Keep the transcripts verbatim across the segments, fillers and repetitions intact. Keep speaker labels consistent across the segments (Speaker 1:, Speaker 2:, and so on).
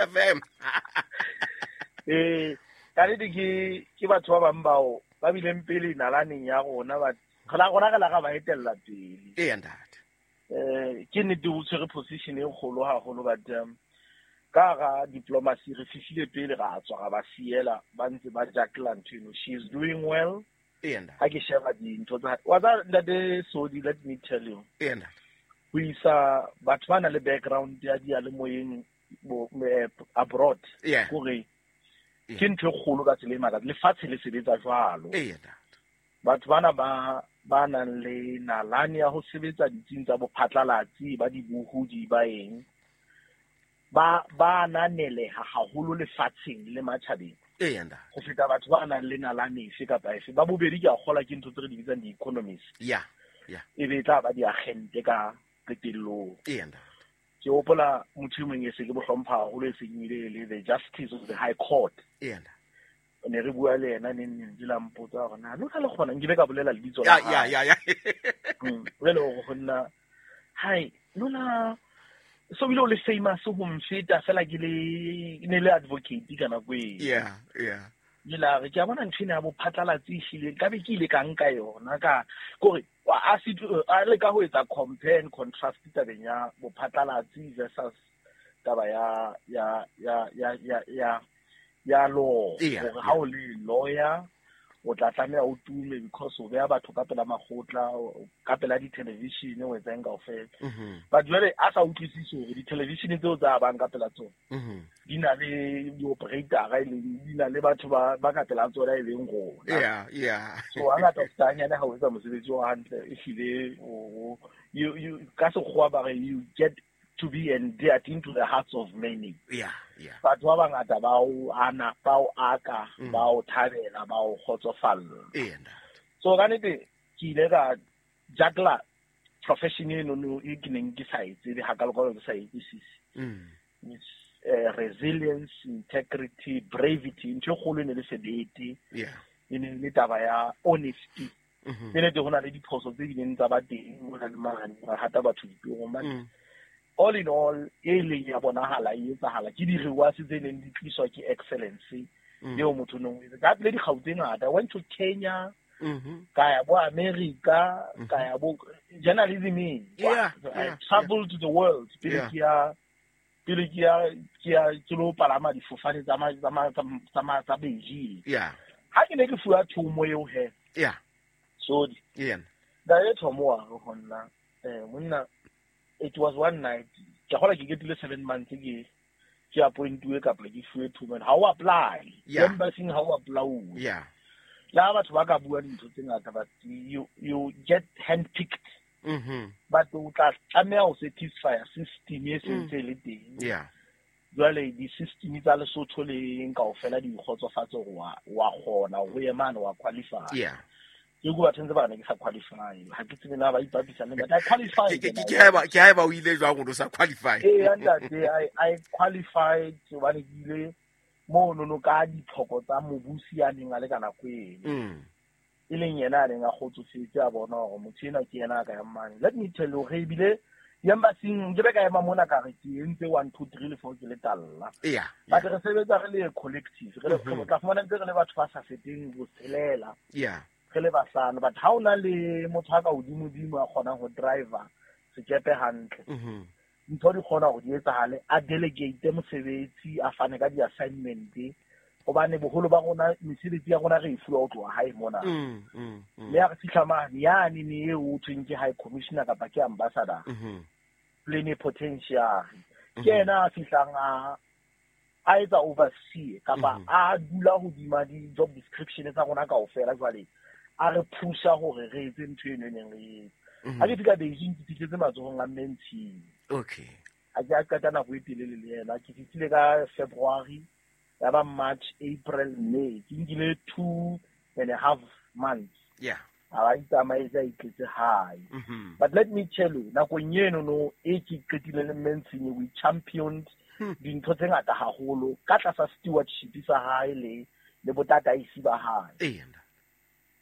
Speaker 1: F M.
Speaker 2: Eh, ka nnete ke ke batho ba bang bao ba bileng pele nalaneng ya rona, ba re rona re la ga ba etella pele.
Speaker 1: Eya ntate.
Speaker 2: Eh, ke nnete o tshwere position e kgolo haholo, but um, ka ga diplomacy re fihlile pele ra tswa ra ba siela ba ntse ba jackla ntho eno. She is doing well.
Speaker 1: Eya ntate.
Speaker 2: Ha ke sheba dintho tsa wa tsa ntate Sodi, let me tell you.
Speaker 1: Eya ntate.
Speaker 2: Ho isa batho ba na le background ya diyalemoyeng bo abroad.
Speaker 1: Yeah.
Speaker 2: Kore
Speaker 1: Yeah.
Speaker 2: ke ntho e kgolo ka tsela e makatsa. Lefatshe le sebetsa jwalo.
Speaker 1: Eya ntate.
Speaker 2: Batho bana ba ba nang le nalane ya ho sebetsa ditsing tsa bophatlalatsi ba dibohodi ba eng ba ba ananeleha haholo lefatsheng le matjhabeng.
Speaker 1: Eya ntate.
Speaker 2: Ho feta batho ba nang le nalane efe kapa efe. Ba bobedi ke a kgolwa ke ntho tse re di bitsang di-economist.
Speaker 1: Yeah. Yeah.
Speaker 2: E be e tla ba diagente ka qetellong.
Speaker 1: Eya ntate.
Speaker 2: Ke hopola motho e mong e se ke bo hlompha haholo e seng ile le the justice of the high court.
Speaker 1: Eya ntate.
Speaker 2: Ne re bua le yena neng neng ke la mpotsa hore na lona le kgona nkile ka bolela lebitso la
Speaker 1: Ya, ya,
Speaker 2: hae.
Speaker 1: ya, ya.
Speaker 2: Mm, jwale hore ho nna, hai, lona so bile o le famous ho mfeta fela ke le ne le advocate ka nako eo.
Speaker 1: Yeah, yeah.
Speaker 2: Ke la re ke a bona ntho ena ya bophatlalatsi ehlile nkabe ke ile ka nka yona ka kore a se a leka ho etsa compare and contrast tabeng ya bophatlalatsi versus taba ya ya ya ya ya ya ya law.
Speaker 1: Yeah,
Speaker 2: Hore ha o le lawyer o tla tlameha o tume because o beha batho ka pela makgotla, ka pela di-television, o etsang kaofela.
Speaker 1: Mm-hmm.
Speaker 2: But jwale a sa utlwisise hore di-television tseo tsa bang ka pela tsona
Speaker 1: Mm-hmm.
Speaker 2: di na le di-operator-a e leng, di na le batho ba, ba ka pela tsona e leng rona.
Speaker 1: Yeah, yeah.
Speaker 2: So hangata o feta hanyane ha o etsa mosebetsi o hantle, ehlile o, o, you, you, ka sekgowa ba re you get to be endeared into the hearts of many.
Speaker 1: Yeah, yeah.
Speaker 2: Batho ba bangata ba o ana, ba o aka,
Speaker 1: Mm.
Speaker 2: ba o thabela, ba o kgotsofalla.
Speaker 1: Eya ntate.
Speaker 2: So ka nnete ke ile ka juggler profession eno no e ke neng ke sa e tsebe hakalo-kalo ke sa e utlwisise.
Speaker 1: Mm.
Speaker 2: With, eh, resilience, integrity, bravery, ntho e kgolo e ne le sebete.
Speaker 1: Yeah.
Speaker 2: E ne le taba ya honesty.
Speaker 1: Mm-hmm.
Speaker 2: Ke nnete ho na le diphoso tse bileng tsa ba teng, ho na le mane, ba hata batho ditorong, but
Speaker 1: Mm.
Speaker 2: all in all, e leng ya bonahala e etsahala ke di-rewards tse neng di tliswa ke excellence
Speaker 1: Mm.
Speaker 2: eo motho o neng o etsa. Ka pele dikgau tse ngata. I went to Kenya,
Speaker 1: Mm-hmm.
Speaker 2: ka ya bo America,
Speaker 1: Mm-hmm.
Speaker 2: ka ya bo journalism.
Speaker 1: Yeah,
Speaker 2: I
Speaker 1: yeah,
Speaker 2: traveled to the world pele
Speaker 1: Yeah.
Speaker 2: ke ya, pele ke ya, ke ya, ke lo palama difofane tsa ma, tsa ma, tsa ma, tsa ma, tsa Beijing.
Speaker 1: Yeah.
Speaker 2: Ha ke ne ke fuwa thomo eo he.
Speaker 1: Yeah.
Speaker 2: Sorry.
Speaker 1: Yeah.
Speaker 2: Ntate thomo wa re ho nna, eh, monna, it was one night. Ke kgola ke ketile seven months ke, ke appointuwe kapa ke fuwe thomo. Ha o apply.
Speaker 1: Yeah.
Speaker 2: Embassy ha o apply.
Speaker 1: Yeah.
Speaker 2: Le ha batho ba ka bua dintho tse ngata, but you, you get handpicked.
Speaker 1: Mm-hmm.
Speaker 2: But o tla tlameha ho satisfy system e
Speaker 1: Mm.
Speaker 2: sentse e le teng.
Speaker 1: Yeah.
Speaker 2: Jwale di-system tsa Lesotho le eng kaofela di kgotsofatse hore wa, wa kgona ho ye mane wa qualify.
Speaker 1: Yeah.
Speaker 2: Ke bua batho ntse ba re ne ke sa qualify. Ha ke tsebe na ba ipapisa le nna, but I qualified.
Speaker 1: Ke, ke, ke haeba, ke haeba o ile jwang o sa qualify?
Speaker 2: Ee, ntate, I, I qualified hobane ke ile mono no ka ditlhoko tsa mobusi ya neng a le ka nako eno.
Speaker 1: Mm.
Speaker 2: E leng yena a neng a kgotsofetse a bona hore motho enwa ke yena a ka yang mane. Let me tell you, re ebile di-embassy-ing nke be ka ema mona ka re ke entse one, two, three le four ke le talla.
Speaker 1: Yeah,
Speaker 2: But
Speaker 1: yeah.
Speaker 2: re sebetsa re le collective. Re le,
Speaker 1: Mm-hmm.
Speaker 2: re tla fumana ntse re le batho ba sa feteng botshelela.
Speaker 1: Yeah.
Speaker 2: Re le bahlano, but ha o na le motho a ka hodimodimo a kgonang ho driver sekepe hantle.
Speaker 1: Mm-hmm.
Speaker 2: Ntho di kgona hore di etsahale, a delegate mosebetsi, a fane ka di-assignment, hobane boholo ba rona mesebetsi ya rona re e fuwa ho tloha hae mona.
Speaker 1: Mm, mm, mm.
Speaker 2: Mme ha re fihla mane, yane ne eo ho thweng ke high commissioner kapa ke ambassador.
Speaker 1: Mm-hmm.
Speaker 2: Plenipotentiary. Ke
Speaker 1: Mm-hmm.
Speaker 2: yena a fihlang a, a etsa oversee kapa
Speaker 1: Mm-hmm.
Speaker 2: a dula hodima di-job description tsa rona kaofela jwale. A re pusha hore re etse ntho eno e neng re etsa.
Speaker 1: Mm-hmm.
Speaker 2: Ha ke fihla Beijing, ke fihletse matsohong a Mme Ntshini.
Speaker 1: Okay.
Speaker 2: Ha ke a qeta nako e telele le yena. Ke fihlile ka February, ya ba March, April, May. Ke nkile two and a half months.
Speaker 1: Yeah.
Speaker 2: A ba itsamaetse a itletse hae.
Speaker 1: Mm-hmm.
Speaker 2: But let me tell you, nakong eno no e ke qetile le Mme Ntshini, we championed
Speaker 1: Hmm.
Speaker 2: dintho tse ngata haholo ka tlasa stewardship sa hae le, le botataisi ba hae.
Speaker 1: Eya.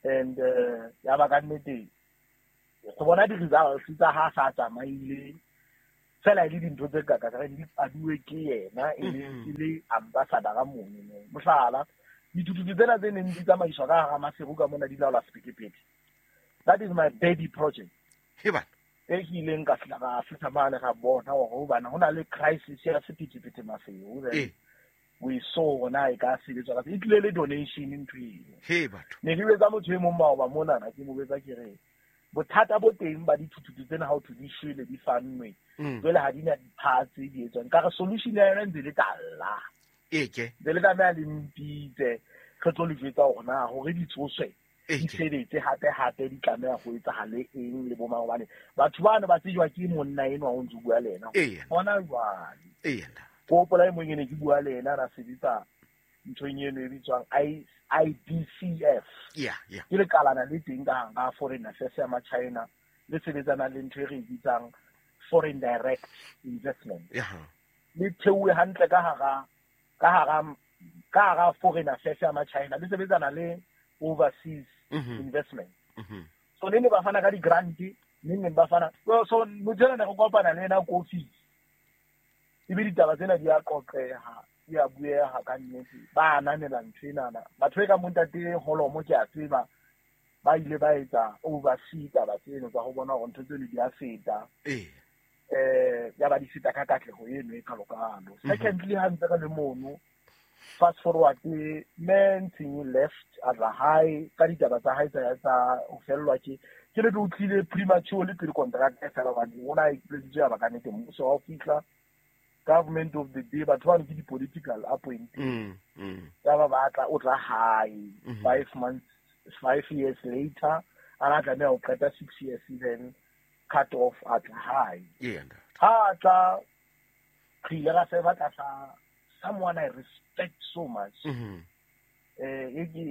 Speaker 2: And, uh, ya ba ka nnete, go bona di-results tsa ha sa tsamaile, Fela e le dintho tse ka ka re di paduwe ke yena e le
Speaker 1: Mhm.
Speaker 2: e le ambassador mono no. Mohlala, dithuthuthu tsena tse neng di tsamaiswa ka hara Maseru ka mona di laola sephethephethe. That is my baby project.
Speaker 1: He bana.
Speaker 2: E ke ileng ka fihla ka fihla mane ra bona hore hobane ho na le crisis ya sephethephethe Maseru. Then
Speaker 1: Eh.
Speaker 2: we saw hore na e ka sebetswa ka e tlile le donation ntho eno.
Speaker 1: He batho.
Speaker 2: Ne ke betsa motho e mong maoba monana ke mo betsa ke re bothata bo teng ba dithuthuthu tsena ha ho thwe di shwele di fannwe.
Speaker 1: Mm.
Speaker 2: Jwale ha di na di-parts tse di etswang. Ka re solution ya yona ntse le talla.
Speaker 1: E ke.
Speaker 2: Ntse le tlameha le mpitse re tlo le jwetsa hore na hore di tsoswe
Speaker 1: E
Speaker 2: di
Speaker 1: ke.
Speaker 2: sebetse hape hape di tlameha ho etsahale eng le bo mang hobane batho bano ba tsejwa ke monna enwa o ntso bua le yena.
Speaker 1: Eya.
Speaker 2: Hona jwale.
Speaker 1: Eya ntate.
Speaker 2: Ke hopola e mong e ne ke bua le yena ra sebetsa nthong eno e bitswang I I D C F.
Speaker 1: Yeah, yeah.
Speaker 2: Ke lekalana le teng ka hara Foreign Affairs ya Machina le sebetsanang le ntho e re e bitsang foreign direct investment.
Speaker 1: Yeah.
Speaker 2: Le theuwe hantle ka hara ka hara ka hara Foreign Affairs ya Machina le sebetsana le overseas
Speaker 1: Mhm.
Speaker 2: investment.
Speaker 1: Mhm.
Speaker 2: So ne ne ba fana ka di-grant, ne neng ba fana so so motho enwa ne re kopana le ena ko office. Ebe ditaba tsena di a qoqeha, di a bueha ka nnete. Ba ananela ntho enana. Batho e ka mo ntate Holomo ke a tseba ba ile ba etsa oversee taba tseno tsa ho bona hore ntho tseno di a feta.
Speaker 1: Eh.
Speaker 2: Eh ya ba di feta ka katleho eno e kalokalo.
Speaker 1: Mhm.
Speaker 2: Secondly, ha ntse re le mono, fast forward, man Tshing left a tla hae ka ditaba tsa hae tsa tsa ho fellwa ke ke le o tlile premature le pele contract e fela hobane o na ipoleletse ya ba ka nnete mmuso wa ho fihla government of the day batho bano ke di-political appointee.
Speaker 1: Mm. Mm.
Speaker 2: Ya ba batla o tla hae
Speaker 1: Mhm.
Speaker 2: five months five years later a na tlameha ho qeta six years then cut off a tla hae.
Speaker 1: Eya ntate.
Speaker 2: Ha a tla re ile ra serva tlasa someone I respect so much.
Speaker 1: Mhm.
Speaker 2: Eh e ke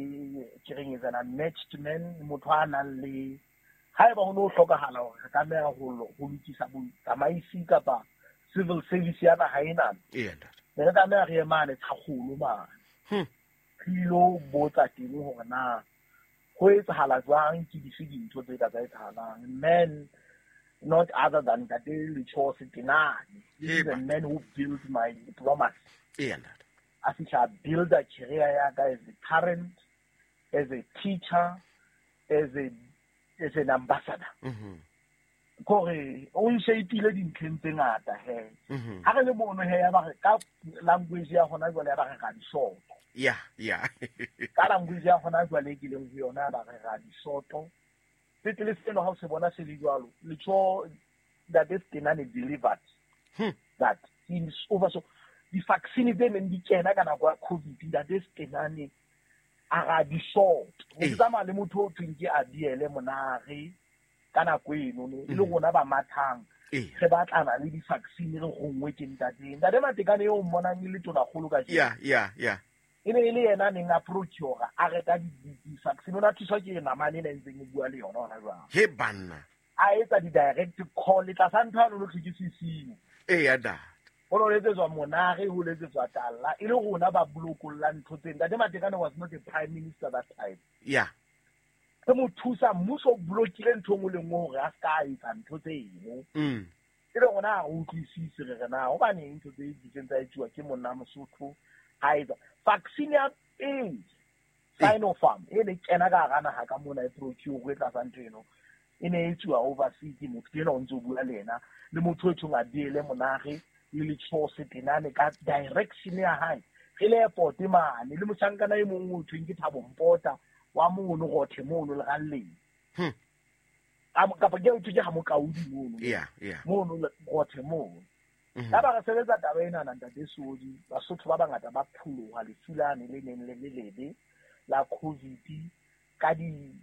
Speaker 2: ke reng is an unmatched man, motho a nang le haeba ho no hlokahala hore re tlameha ho lo- ho lokisa botsamaisi kapa civil service ya naha ena,
Speaker 1: Eya ntate.
Speaker 2: ne re tlameha re ye mane Tshakgolo mane
Speaker 1: Hmm.
Speaker 2: re ilo botsa teng hore na ho etsahala jwang, ke dife dintho tse ka tsa etsahalang. Man not other than Ntate Letsho Setenane. This is a man who built my diplomacy.
Speaker 1: Eya ntate.
Speaker 2: A fihla a builda career ya ka as a parent, as a teacher, as a as an ambassador.
Speaker 1: Mhm.
Speaker 2: Kore o nshapile dintlheng tse ngata he.
Speaker 1: Mhm.
Speaker 2: Ha re le mono he ya ba re ka language ya hona jwale ya ba re ra disoto.
Speaker 1: Yeah, yeah.
Speaker 2: Ka language ya hona jwale e ke leng ho yona ya ba re ra disoto. Sepetlele seno ha o se bona se le jwalo, Letsho Ntate Setenane delivered
Speaker 1: Hmm.
Speaker 2: that. He is over so di-vaccine tse neng di kena ka nako ya COVID, Ntate Setenane a ra di short. Ho
Speaker 1: Ee.
Speaker 2: tsamaya le motho o thweng ke Abiele Monare ka nako eno no, e le
Speaker 1: Mhm.
Speaker 2: rona ba mathang
Speaker 1: Ee.
Speaker 2: re batlana le di-vaccine re gongwe ke ntate. Ntate Matekane eo mmonang e le tonakgolo kajeno.
Speaker 1: Yeah, yeah, yeah.
Speaker 2: E ne e le yena a neng a procure a reka di-vaccine. O ne a thuswa ke namane ena e ntseng e bua le yona hona jwale.
Speaker 1: He banna.
Speaker 2: A etsa di-direct call tlasa ntho yane no thwe ke sesimo.
Speaker 1: Eya ntate.
Speaker 2: Ho no letsetswa Monare, ho letsetswa Talla, e le rona ba bolokollang ntho tsena. Ntate Matekane was not a prime minister that time.
Speaker 1: Yeah.
Speaker 2: Re mo thusa, mmuso o blokile ntho e nngwe le nngwe hore a ska etsa ntho tseno.
Speaker 1: Mm.
Speaker 2: E le rona ha re utlwisise re re na hobaneng ntho tse ditseng tsa etsuwa ke monna Mosotho ha etsa vaccine ya pele Sinopharm e ne kena ka hara naha ka mona e procure e tlasa ntho eno e ne e etsuwa overseas ke motho enwa o ntso bua le yena le motho e thong Abiele Monare le Letsho Setenane ka direction ya hae re le airport mane le mohlankana e mong o thweng ke Thabo Mpota wa mono Rothe mono Leralleng.
Speaker 1: Hmm.
Speaker 2: Kapa ke thwe ke ha Mokaudi mono.
Speaker 1: Yeah, yeah.
Speaker 2: Mono Rothe mono.
Speaker 1: Mhm.
Speaker 2: Ya ba re sebetsa taba ena na ntate Sodi, Basotho ba bangata ba pholoha lefu lane le neng le le lebe la COVID ka di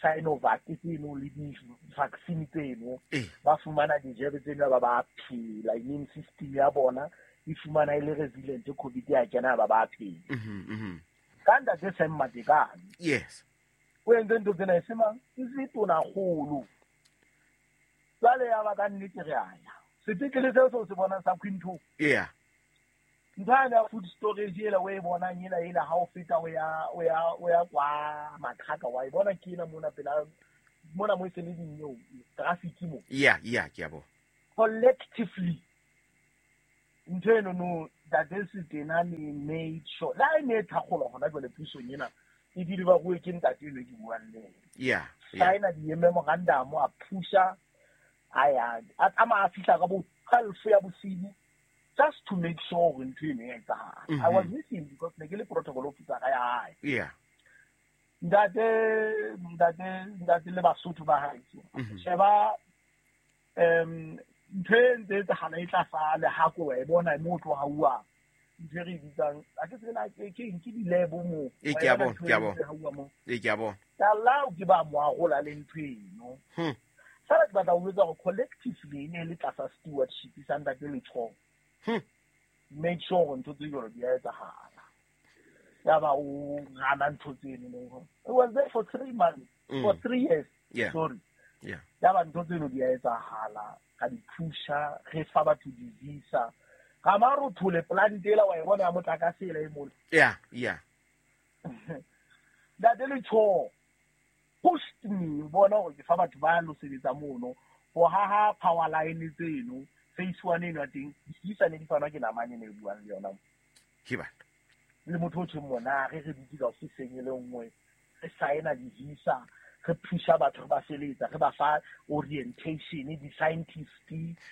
Speaker 2: Sinovac tseno le di-vaccine tseno.
Speaker 1: Eh.
Speaker 2: Ba fumana dijebe tseno ba ba phela, immune system ya bona e fumana e le resilient, COVID ya kena ba ba phela.
Speaker 1: Mhm, mhm.
Speaker 2: Ka ntate Sam Matekane.
Speaker 1: Yes.
Speaker 2: O entse ntho tsena e se mang? E se tonakgolo. Jwale ya ba ka nnete re a ya. Sepetlele seo seo se bonang sa Quinto.
Speaker 1: Yeah.
Speaker 2: Ntho yane ya food storage ela o e bonang ela ela ha o feta o ya o ya o ya kwa Makhaka wa e bona ke ena mona pela mona mo e se le dineo traffic mo.
Speaker 1: Yeah, yeah, ke a bona.
Speaker 2: Collectively Ntho eno no Ntate Setenane made sure la e ne e thakgolwa hona jwale pusong ena e dile ba bue ke ntate eno ke buang le ena.
Speaker 1: Yeah. Yeah.
Speaker 2: Sign-a di-memorandum a pusha a ya a tsamaya a fihla ka bo twelve ya bosibu just to make sure hore ntho eno e etsahala. I was
Speaker 1: Mhm.
Speaker 2: with him because ne ke le protocol officer ya hae.
Speaker 1: Yeah.
Speaker 2: Ntate ntate ntate le Basotho ba hae.
Speaker 1: Mhm.
Speaker 2: Sheba um ntho e ntse e etsahala e tla sale ha ko wa e bona mo tloha uwa ntho e re e bitsang a ke tsebe na ke ke eng, ke di-lab moo.
Speaker 1: E
Speaker 2: Wa
Speaker 1: ke
Speaker 2: e
Speaker 1: a
Speaker 2: bona
Speaker 1: bona,
Speaker 2: ntho
Speaker 1: ke a
Speaker 2: e
Speaker 1: bona.
Speaker 2: ntse hauwa moo.
Speaker 1: E ke a bona.
Speaker 2: Talla ke ba mo arola le ntho eno.
Speaker 1: Hmm.
Speaker 2: Fela ke batla ho jwetsa hore collectively e ne e le tlasa stewardship sa Ntate Letsholo.
Speaker 1: Hmm.
Speaker 2: Make sure hore ntho tse jwalo di a etsahala. Ya ba o gana ntho tseno no. It was there for three months,
Speaker 1: Mm.
Speaker 2: for three years.
Speaker 1: Yeah.
Speaker 2: Sorry.
Speaker 1: Yeah.
Speaker 2: Ya ba ntho tseno di a etsahala, ka di pusha, re fa batho di-visa. Ga ma re thole plant ela wa e bona ya motlakase ela e mole.
Speaker 1: Yeah, yeah.
Speaker 2: Ntate Letsholo pushed me bona hore ke fa batho ba lo sebetsa mono ho haha power line tseno phase one eno ya teng di-visa ne di fanwa ke namane ene e buang le yona.
Speaker 1: Ke batho.
Speaker 2: Le motho o tjheng monare re dutse ka ofiseng e le nngwe re sign-a di-visa re pusha batho re ba feletsa re ba fa orientation di-scientist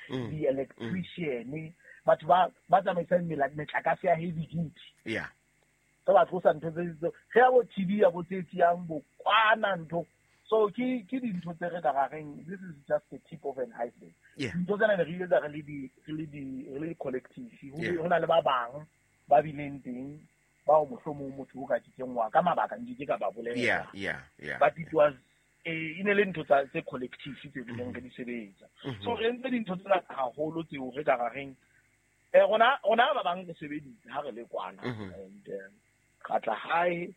Speaker 1: Mm.
Speaker 2: di-electrician batho ba ba tsamaisang mela- metlakase ya heavy duty
Speaker 1: Yeah.
Speaker 2: re ba tlosa ntho tse tse ge ya bo T B ya bo tse tsiyang bo kwana ntho so ke ke dintho tse re ka ra reng this is just the tip of an iceberg
Speaker 1: Yeah.
Speaker 2: dintho tsena ne re etsa re le di re le di re le collective ho
Speaker 1: Yeah.
Speaker 2: ho na le ba bang ba bileng teng bao mohlomong motho o ka ke kenngwa ka mabaka nke ke ka ba bolela
Speaker 1: Yeah, yeah, yeah.
Speaker 2: but it was eh, e ne le ntho tsa tse collective tse bileng re di sebetsa
Speaker 1: Mhm.
Speaker 2: so re entse dintho tsena haholo tseo re ka ra reng eh rona rona ba bang re sebeditse ha re le kwana
Speaker 1: Mhm.
Speaker 2: and eh, ra tla hae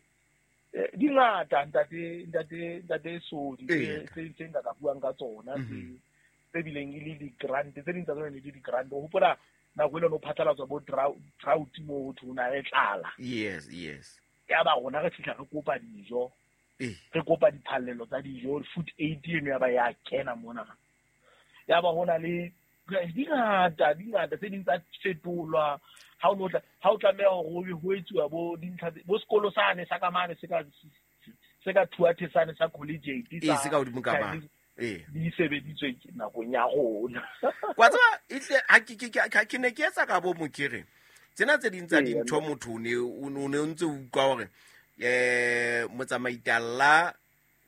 Speaker 2: eh, di ngata ntate ntate ntate Sodi
Speaker 1: Ee.
Speaker 2: tse tse tse nka ka buang ka tsona tse
Speaker 1: Mhm.
Speaker 2: tse bileng e le di-grant tse ding tsa tsona ne le di-grant o hopola nako e le no phatlalatswa bo drou- drought mo ho thwe ho na le tlala
Speaker 1: Yes, yes.
Speaker 2: ya ba rona re fihla re kopa dijo
Speaker 1: Eh.
Speaker 2: re kopa diphallelo tsa dijo food aid eno ya ba ya kena mona ya ba hona le di ngata di ngata tse ding tsa fetolwa ha o no tla ha o tlameha hore ho be ho etsuwa bo dintlha tse- bo sekolo sane sa ka mane se ka se ka Thuathe sane sa collegiate
Speaker 1: Eh, se ka hodimo ka mane.
Speaker 2: Chinese
Speaker 1: Eh.
Speaker 2: di sebeditswe ke nakong ya rona
Speaker 1: Wa tseba ehle ha ke ke ke ke ne ke etsa ka bo mokere. Tsena tse ding tsa
Speaker 2: Ee,
Speaker 1: dintho motho o ne o ne o ne o ntse o utlwa hore eh motsamaitalla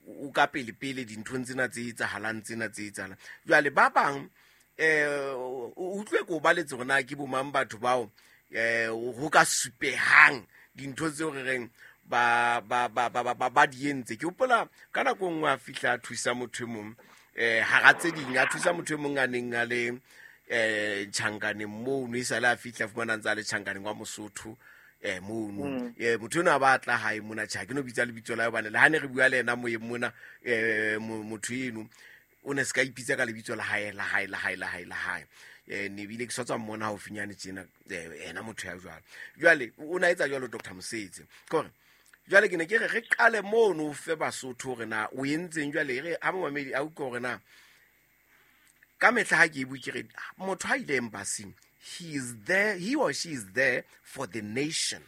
Speaker 1: o ka pele pele dinthong tsena tse etsahalang tsena tse etsahalang. Jwale ba bang eh o utlwe ko baletse hore na ke bo mang batho bao eh ho ka supehang dintho tseo re reng ba ba ba ba ba, ba, ba di entse. Ke hopola ka nako e nngwe a fihla a thusa motho e mong eh hara tse ding a thusa motho e mong a neng a le eh tjhankaneng mono e sale a fihla a fumana ntse a le tjhankaneng wa Mosotho eh mono
Speaker 2: Mm.
Speaker 1: eh motho enwa a ba tla hae mona tjha ke no bitsa lebitso la hae hobane le ha ne re bua le yena moyeng mona eh mo- motho eno o ne se ka ipitsa ka lebitso la hae la hae la hae la hae la hae eh ne bile ke sa tswa mmona haufinyane tjena eh, ena motho ya jwalo jwale o na etsa jwalo Doctor Mosetse ke hore jwale ke ne ke re re qale mono o fe Basotho hore na o entseng jwale e re ha momamedi a utlwe hore na ka mehla ha ke e bue ke re motho ha ile embassy he is there he or she is there for the nation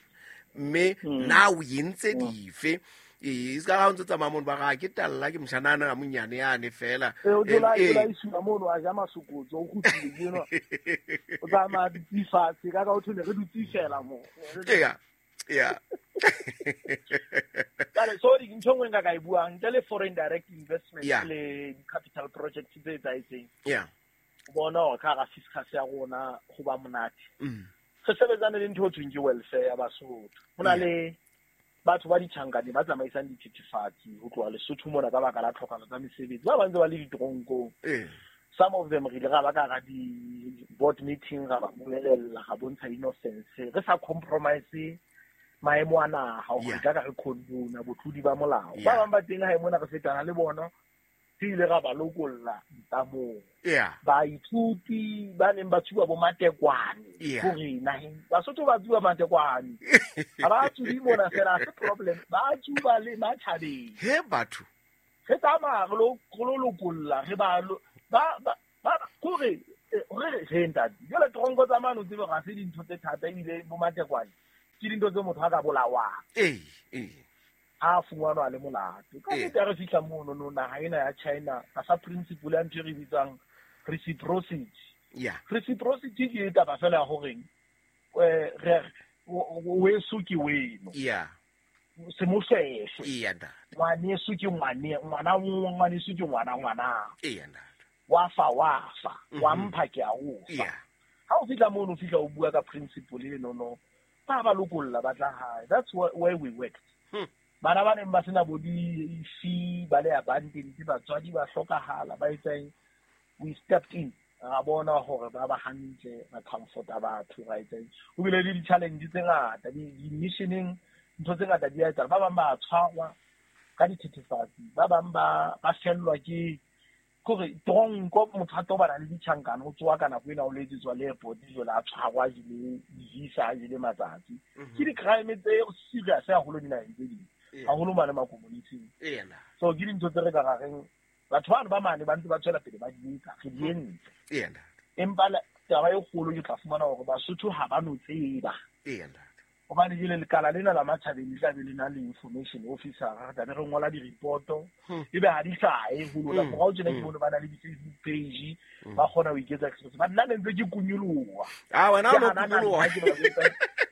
Speaker 1: mme
Speaker 2: Mm.
Speaker 1: na o entse dife ee se ka ga o ntse tsamaya mono ba ga ke talla ke moshanana a monyane yane fela
Speaker 2: Eh, o thola
Speaker 1: Eh,
Speaker 2: thola isiwa mono a ja masokotso o kgutlile ke enwa o tsamaya dutse fatshe ka ka o thole re dutse fela mo
Speaker 1: yeah yeah
Speaker 2: Jwale, so di- ntho e nngwe nka ka e buang ntle le foreign direct investment
Speaker 1: Yeah.
Speaker 2: le capital project tse etsahetseng
Speaker 1: yeah
Speaker 2: o bona hore ka hara fiscus ya rona ho ba monate
Speaker 1: mm.
Speaker 2: re sebetsane le ntho e thweng ke welfare ya Basotho ho na
Speaker 1: Yeah.
Speaker 2: le batho ba ditjhankane ba tsamaisang dithethefatsi ho tloha Lesotho mona ka baka la tlhokano tsa mesebetsi ba bang ntse ba le ditoronkong
Speaker 1: eh
Speaker 2: some of them re ile ra ba ka hara di-board meeting ra ba bolelella ra bontsha innocence re sa compromise maemo a naha hore
Speaker 1: Yeah.
Speaker 2: ka ka re condone botlodi ba molao
Speaker 1: Yeah.
Speaker 2: ba bang ba teng hae mona re fetana le bona re ile ra ba lokolla ntamong
Speaker 1: yeah
Speaker 2: baithuti ba neng ba tsuba bo matekwane
Speaker 1: Yeah.
Speaker 2: hore naheng Basotho ba tsuba matekwane ha ba tsubi mona fela ha se problem ba tsuba le matjhabeng
Speaker 1: he batho
Speaker 2: re tsamaya re lo re lo lokolla re ba lo ba ba ba kore Re re ntate jwale tronko tsa mane o tsebe ga se dintho tse thata ebile bo matekwane ke dintho tse motho a ka bolawang
Speaker 1: ee ee
Speaker 2: ha fumanwa le molato ka nnete re fihla mono no naha ena ya China ka sa principle ya ntho e re bitsang reciprocity.
Speaker 1: Yeah,
Speaker 2: reciprocity ke taba fela ya horeng eh re weso ke weno.
Speaker 1: Yeah,
Speaker 2: se moshweshwe.
Speaker 1: Yeah ntate,
Speaker 2: ngwaneso ke ngwane ngwana ngwaneso ke ngwana ngwana.
Speaker 1: Yeah ntate,
Speaker 2: wa fa wa fa wa mpha ke a o fa.
Speaker 1: Yeah,
Speaker 2: ha o fihla mono o fihla o bua ka principle eno no ba ba lokolla ba tla hae. That's where we worked.
Speaker 1: Hmm.
Speaker 2: Bana ba neng ba sena bo di-fee ba le abandoned batswadi ba hlokahala ba etsang, we stepped in ra bona hore ba ba hantle ba comforta batho ra etsang. O bile le di-challenge tse ngata di-missioning ntho tse ngata di a etsahala. Ba bang ba tshwarwa ka dithethefatsi, ba bang ba ba fellwa ke kore tronko motho a tobana le ditjhankana o tsoa ka nako ena o letsetswa le airport jwale a tshwarwa jele di-visa a jele matsatsi. Ke di-crime tse serious haholo dinaheng tse ding haholo mane ma-community-ing. So ke dintho tse re ka ra reng batho bano ba mane ba ntse ba tswela pele ba di etsa re di entse. Empa taba e kgolo ke tla fumana hore Basotho ha ba no tseba. Hobane jwale lekala lena la matjhabeng le tla be le na le information officer re tla be re ngola di-report-o ebe ha di hlahe ho lona. Morao tjena ke bone ba na le di-Facebook page ba kgona ho iketsa express. Ba nna ne ntse ke kunyoloha.
Speaker 1: Ah wena o kunyoloha.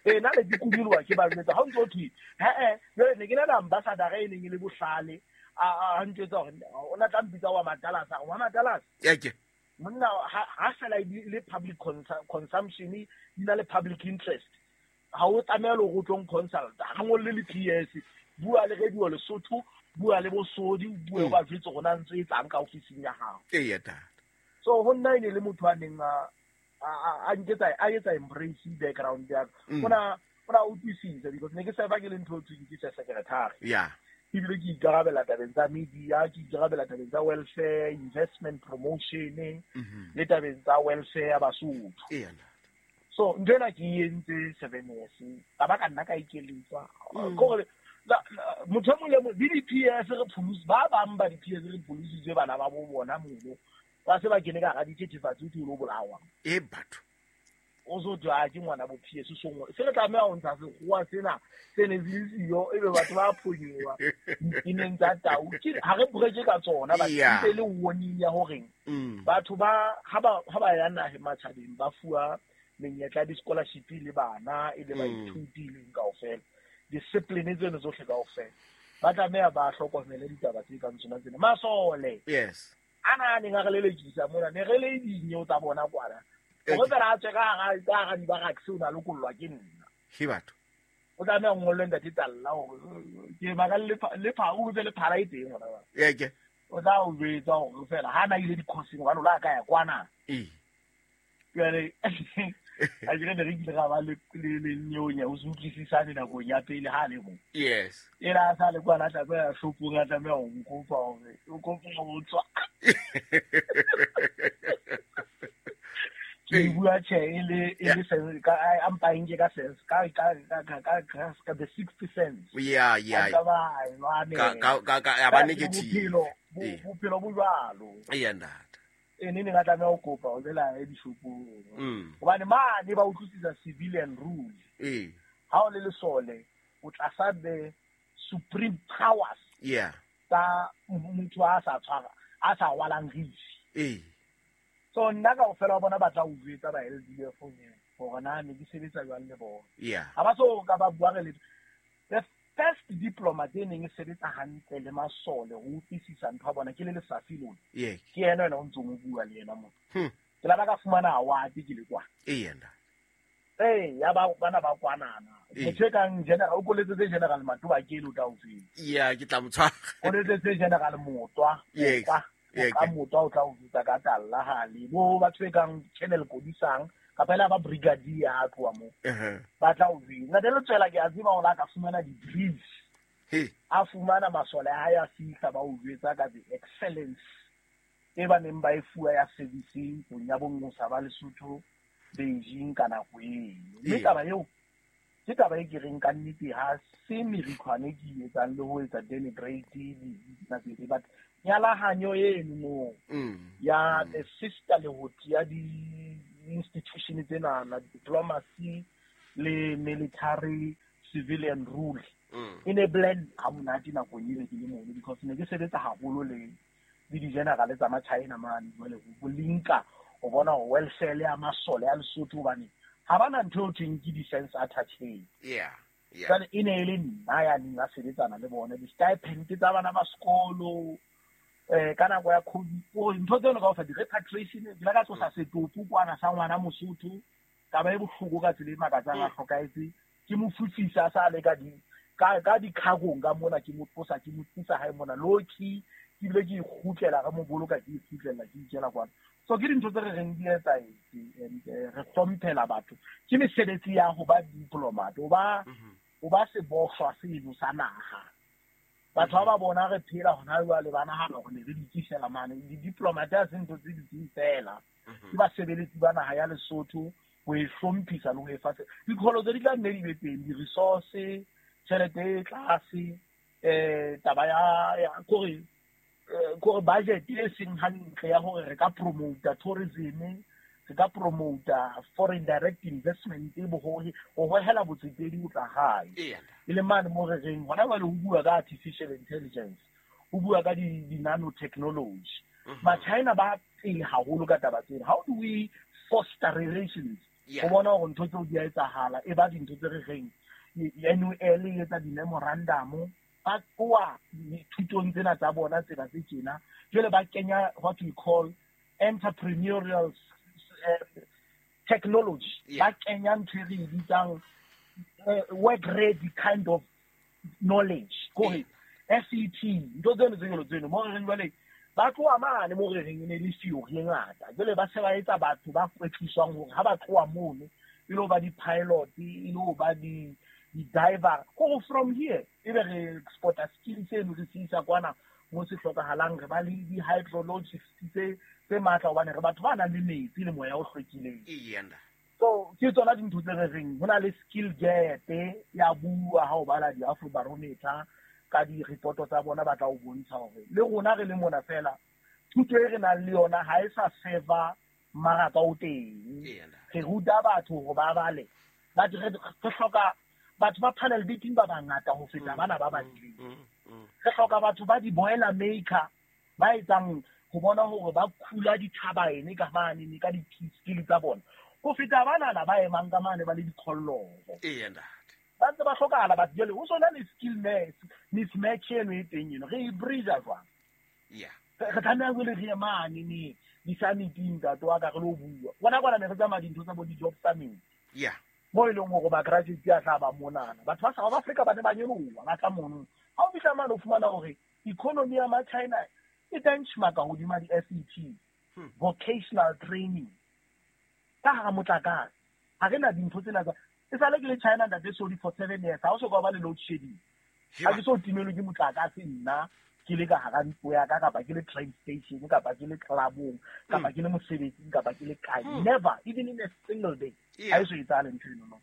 Speaker 2: Eh nna ne ke kunyoloha ke ba jwetsa ha o ntso thwe he-eh jwale ne ke na le ambassador e neng e le bohlale a ntjwetsa hore o na tla mpitsa wa Matalasa wa Matalasa.
Speaker 1: Eke
Speaker 2: monna ha fela le public consumption di na le public interest ha o tlameha le go tlong consult ha ngolle le P S bua le radio Lesotho bua le bosodi bua ba jwetse rona ntse e tlang ka ofising ya hao.
Speaker 1: Ee ntate.
Speaker 2: So ho nna ene le motho a neng a a nketsa a etsa embrace background ya ka ona ona utlwisisa because ne ke sa ba ke le ntho tse ke sa secretary.
Speaker 1: Yeah,
Speaker 2: ebile ke ikarabela tabeng tsa media, ke ikarabela tabeng tsa welfare, investment promotion le tabeng tsa welfare ya Basotho.
Speaker 1: Ee ntate.
Speaker 2: So ntho ena ke e entse seven years ka ba ka nna ka ikeletswa kore motho e mong le mong le di-P S re pholose ba bang ba di-P S re pholositswe bana ba bo bona mono ba se ba kene ka hara dithethefatsi o thwe o lo bolawa.
Speaker 1: E batho
Speaker 2: o so thwe a ke ngwana bo P S so se re tlameha ho ntsha sekgowa sena se ne se le siyo ebe batho ba phonyoha dineng tsa tau ke ha re breke ka tsona ba ntse le warning ya horeng batho ba ha ba ha ba ya nahe matjhabeng ba fuwa menyetla di-scholarship le bana e le baithuti le kaofela discipline tseno tsohle kaofela ba tlameha ba hlokomele ditaba tse kang tsona tsena. Masole
Speaker 1: yes
Speaker 2: ana a neng a re lelekisa mona ne re le dinyo tsa bona kwana hore fela a tswe ka hara ka hara dibaraks o na lokollwa ke nna.
Speaker 1: Ke batho
Speaker 2: o tlameha o ngolle ntate Talla hore ke baka le le pha o be le phala e teng hona ba.
Speaker 1: Eke
Speaker 2: o tla o jwetsa hore fela ha na ile di-courseng hobane o la ka ya kwana.
Speaker 1: Ee
Speaker 2: jwale a ke ne re kile ra ba le le nyonya o se utlwisisane nakong ya pele ha le mo.
Speaker 1: Yes,
Speaker 2: ena a sa le kwana a tlameha shopong a tlameha ho nkopa hore o kopa ho tswa. Ke bua tjhe e le e le sense ka a mpa nke ka sense ka ka ka ka ka the sixth sense.
Speaker 1: Yeah yeah
Speaker 2: ka
Speaker 1: ka ka ka ya ba negative
Speaker 2: bophelo bo jwalo.
Speaker 1: Ee ntate
Speaker 2: e ne ne ka tlameha ho kopa o bela e dishopong hobane mane ba utlwisisa civilian rule.
Speaker 1: Ee
Speaker 2: ha o le lesole o tlasa the supreme powers.
Speaker 1: Yeah,
Speaker 2: tsa motho a sa tshwara a sa rwalang rifi.
Speaker 1: Ee
Speaker 2: so nna kaofela wa bona ba tla o jwetsa ba L D F hore na ne ke sebetsa jwang le bona.
Speaker 1: Yeah,
Speaker 2: ha ba so ka ba bua re le the first diplomat e neng e sebetsa hantle le masole ho utlwisisa ntho ya bona ke le Lesafi lona.
Speaker 1: Yeah,
Speaker 2: ke yena yena o ntsong o bua le yena motho. Ke la ba ka fumana award ke le kwana.
Speaker 1: Ee ntate.
Speaker 2: Ee ya ba bana ba kwanana motho e kang general o koletsetse General Matoba ke le o tla o tseba.
Speaker 1: Yeah, ke tla mo tshwara.
Speaker 2: Koletsetse General Motwa.
Speaker 1: Yes.
Speaker 2: Ka Motwa o tla o jwetsa ka Talla hale bo batho e kang Colonel Kodisang kapa ela ba brigadier ha tloha moo ba tla o jwetsa. Ntate Letswela ke a tseba hore a ka fumana di-briefs. A fumana masole a hae a fihla ba o jwetsa ka the excellence e ba neng ba e fuwa ya servicing ntlong ya bongosa ba Lesotho Beijing ka nako eno. Mme taba eo ke Ke taba e ke reng ka nnete ha se merikhwane ke e etsang le ho etsa denigrate di but nyalahanyo eno mo ya the sisterhood ya di institution tsena na diplomacy le military civilian rule e ne blend ha monate nakong eo ke le mono because ne ke sebetsa haholo le le di-general tsa ma-China mane jwale ho linka o bona hore welfare ya masole ya Lesotho hobane ha bana ntho eo thweng ke defense attaché.
Speaker 1: Yeah, yeah.
Speaker 2: Jwale e ne e le nna ya neng a sebetsana le bona di-stipend tsa bana ba sekolo eh ka nako ya COVID o ntho tseno kaofela di-repatriation ke la ka tlosa setopo kwana sa ngwana Mosotho taba e bohloko ka tsela e makatsang a hlokahetse ke mo fufisa sa le ka di ka ka dikhagong ka mona ke mo tlosa ke mo tlisa hae mona loki ke bile ke ikgutlela re mo boloka ke ikgutlela ke ikela kwana. So ke dintho tse re reng di etsahetse and re hlomphela batho ke mesebetsi ya ho ba diplomat o ba o ba sebohlwa seno sa naha. Batho ba ba bona re phela hona jwale ba nahana hore ne re dikisela mane di-diplomat ha se ntho tse dutseng fela ke basebeletsi ba naha ya Lesotho ho e hlomphisa le ho e fa dikholo tse di tla nne di be teng di-resource tjhelete e tlase eh taba ya ya kore kore budget e seng hantle ya hore re ka promote tourism re ka promote foreign direct investment e bohohe ho hohela botsetedi ho tla hae e le mane mo re reng hona jwale ho bua ka artificial intelligence ho bua ka di nanotechnology ma-China ba pele haholo ka taba tsena. How do we foster relations ho bona hore ntho tseo di a etsahala e ba dintho tse re reng N U L e etsa di-memorandum ba tloha dithutong tsena tsa bona tsena tse tjena jwale ba kenya what we call entrepreneurial uh, technology ba kenya ntho e re e bitsang work ready kind of knowledge kore S E T ntho tseno tse jwalo tseno mo re reng jwale ba tloha mane mo re reng e ne le theory e ngata jwale ba se ba etsa batho ba kwetliswang hore ha ba tloha mono e lo ba di-pilot e lo ba di di-diver go from here e be re exporta skills eno re se isa kwana mo se hlokahalang re ba le di-hydrologists tse tse matla hobane re batho ba nang le metsi le moya o hlwekileng. So ke tsona dintho tse re reng ho na le skill gap ya bua ha o bala di-Afrobarometer ka di-reporto tsa bona ba tla o bontsha hore le rona re le mona fela thuto e re nang le yona ha e sa serva mmaraka o teng. Re ruta batho hore ba bale but re hloka batho ba panel beating ba bangata ho feta bana ba badileng. Re hloka batho ba di-boiler maker ba etsang ho bona hore ba khula dithabaene ka mane ka di-skill tsa bona ho feta banana ba emang ka mane ba le dikholloho. Ba ntse ba hlokahala batho jwale ho sona le skill mismatch eno e teng eno re e bridge jwang? Re tlameha jwale re ye mane ne di-summiting ntate wa ka re lo bua bona kwana ne re tsamaya dintho tsa bo di-job summit mo e leng hore ba-graduate a tla ba monana batho ba South Africa ba ne ba nyoloha ba tla mono ha o fihla mane o fumana hore economy ya ma-China e benchmark hodima di-S E T vocational training ka hara motlakase ha re na dintho tsena tsa e sale ke le China ntate Sodi for seven years ha o so ka ba le load shedding ha ke so timelwe ke motlakase nna ke le ka hara ntlo ya ka kapa ke le train station kapa ke le clubong kapa ke le mosebetsing kapa ke le kae never even in a single day ha e so etsahale ntho eno no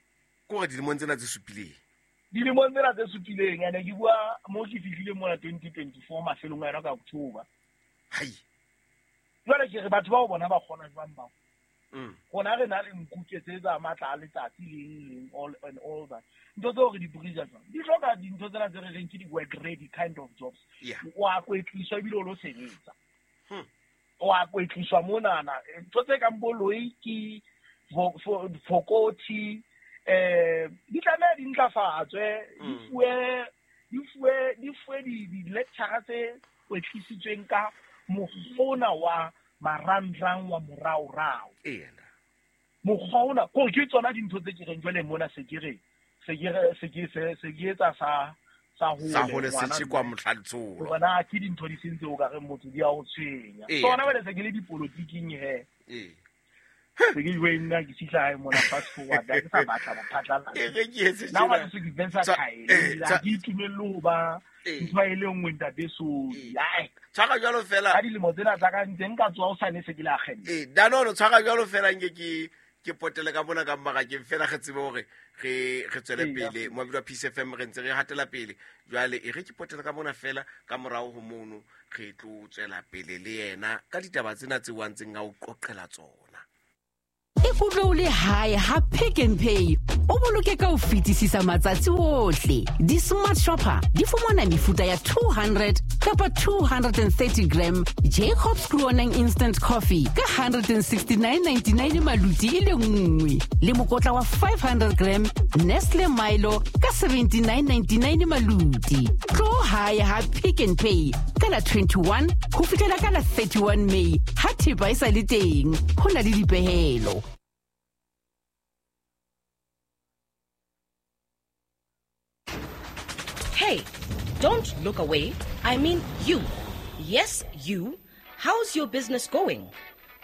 Speaker 1: kore dilemong tsena tse supileng
Speaker 2: dilemong tsena tse supileng ene ke bua mo ke fihlile mona twenty twenty-four mafelong a yona ka October
Speaker 1: hai
Speaker 2: jwale ke re batho bao bona ba kgona jwang bao rona re na le nkuke tse tsa matla a letsatsi leng leng all and all that ntho tseo re di bridge jwang di hloka dintho tsena tse re reng ke di-work ready kind of jobs wa kwetliswa ebile o lo sebetsa wa kwetliswa monana ntho tse kang bo loiki fokothi eh di tlameha di ntlafatswe di fuwe di fuwe di fuwe di-lecture tse kwetlisitsweng ka mokgona wa marangrang wa moraorao mokgwa ona kore ke tsona dintho tse ke reng jwale mona se ke re se ke re se ke se se ke etsa sa sa
Speaker 1: hole se tshekwa mohlaletsolo
Speaker 2: bona ke dintho di sentse o ka re motho di a o tshwenya tsona jwale se ke le dipolotiking he
Speaker 1: ee
Speaker 2: se ke jwe nna ke fihla hae mona fast forward ha ke sa batla bophatlalatsi
Speaker 1: e re ke etse
Speaker 2: tjena nna ke versatile ha ke itumelle ho ba ntho e le nngwe ntate Sodi ai
Speaker 1: tshwara jwalo fela
Speaker 2: ka dilemo tsena tsa ka ntse nka tswa o sane se ke le agente
Speaker 1: eh danono tshwara jwalo fela nke ke ke potele ka mona ka mmarakeng fela re tsebe hore re re tswele pele mo bidwa P C F M re ntse re hatela pele. Jwale e re ke potele ka mona fela ka morao ho mono re tlo tswela pele le yena ka ditaba tsena tse wa ntseng a o qoqela tsona.
Speaker 3: Ikutlwe o le hae ha Pick n Pay o boloke ka ho fetisisa matsatsi ohle. Di-smart shopper di fumana mefuta ya two hundred kapa two hundred and thirty gram Jacobs Groenang Instant Coffee ka hundred and sixty-nine ninety-nine maluti e le nngwe, le mokotla wa five hundred gram Nestle Milo ka seventy-nine ninety-nine maluti. Tlo hae ha Pick n Pay ka la twenty-one ho fihlela ka la thirty-one May ha thepa e sa le teng. Ho na le dipehelo.
Speaker 4: Hey, don't look away. I mean you. Yes, you. How's your business going?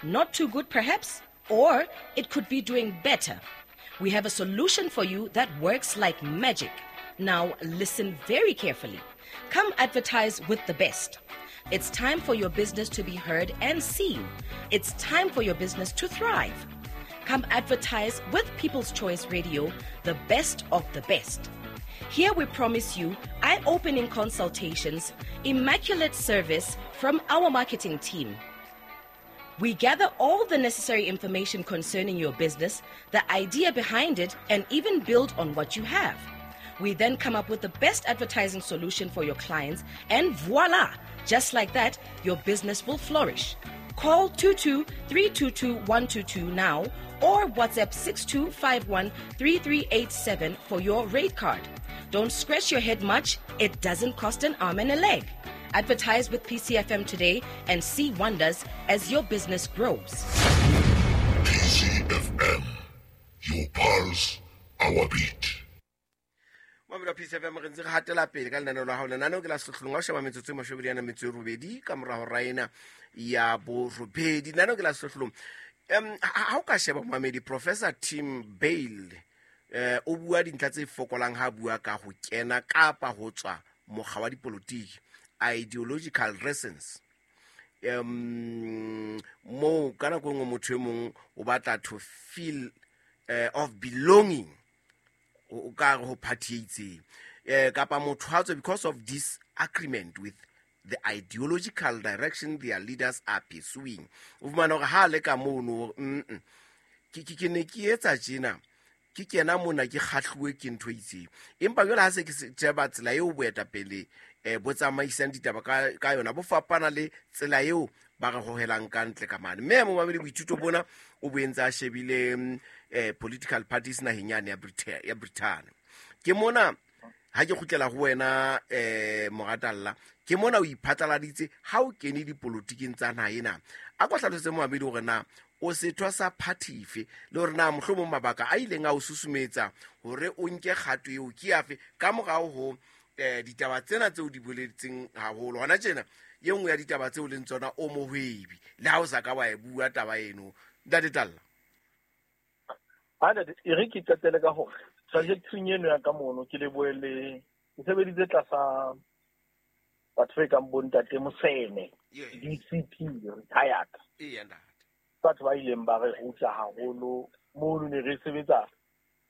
Speaker 4: Not too good, perhaps? Or it could be doing better. We have a solution for you that works like magic. Now, listen very carefully. Come advertise with the best. It's time for your business to be heard and seen. It's time for your business to thrive. Come advertise with People's Choice Radio, the best of the best. Here we promise you eye-opening consultations, immaculate service from our marketing team. We gather all the necessary information concerning your business, the idea behind it, and even build on what you have. We then come up with the best advertising solution for your clients, and voila! Just like that, your business will flourish. Call two two three two two one two two now or WhatsApp six two five one three three eight seven for your rate card. Don't scratch your head much. It doesn't cost an arm and a leg. Advertise with P C F M today and see wonders as your business grows.
Speaker 5: P C F M, your pulse, our beat.
Speaker 1: Mamela P C F M re ntse re hatela pele ka lenaneo la hao. Lenaneo ke la Sehlohlolong. Ha o sheba metsotso e mashome a metso e robedi ka mora hora ena ya borobedi. Lenaneo ke la Sehlohlolong. Um, ha o ka sheba momamedi, Professor Tim Bale eh o bua dintlha tse fokolang ha bua ka ho kena kapa ho tswa mokga wa dipolotiki, ideological reasons. Um mo ka nako nngwe motho e mong o batla to feel uh, of belonging o ka re ho party e itseng, eh kapa motho ha tswe because of this agreement with the ideological direction their leaders are pursuing. O fumana hore ha le ka mono, mm ke ke ne ke etsa tjena, ke kena mona ke kgahluwe ke ntho e itseng, empa jwale ha se ke sheba tsela eo boetapele eh bo tsamaisang ditaba ka ka yona bo fapana le tsela eo ba re hohelang ka ntle ka mane. Mme momamedi boithuto bona o bo entse a shebile eh political parties naheng yane ya Britain ya Britain. Ke mona ha ke kgutlela ho wena eh Moratalla, ke mona o iphatlaladitse ha o kene dipolotiking tsa naha ena. A ko hlalosetse momamedi hore na o sethwa sa party efe, le hore na mohlomong mabaka a ileng a o susumetsa hore o nke kgato eo ke afe ka morao ho eh ditaba tsena tseo di boletseng haholo hona tjena. E nngwe ya ditaba tseo leng tsona o mohwebi, le ha o sa ka wa e bua taba eno, Ntate Talla.
Speaker 2: Ha ntate, e re ke qetele ka hore trajectory eno ya ka mono ke lebohele ke sebeditse tlasa batho ba kang bo ntate Moseme, D C P retired.
Speaker 1: Eya ntate.
Speaker 2: Batho ba ileng ba re ruta haholo mono, ne re sebetsa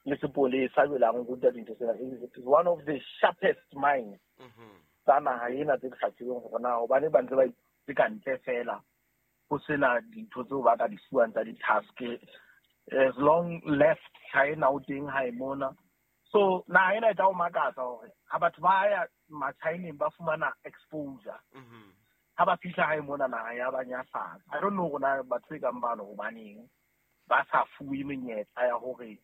Speaker 2: le sepolesa jwale a re ruta dintho tsena. It is one of the sharpest minds tsa naha ena tse ke sa tsebeng hore na hobane ba ntse ba itse ka ntle fela ho sena dintho tseo ba ka di fuwang tsa di-task. As long left China o teng ha e mona. So naha ena e tla o makatsa hore ha batho ba ya Machineng ba fumana exposure, ha ba fihla hae mona naha ya ba nyahlatsa. I don't know hore na batho e kang bano hobaneng ba sa fuwe menyetla ya hore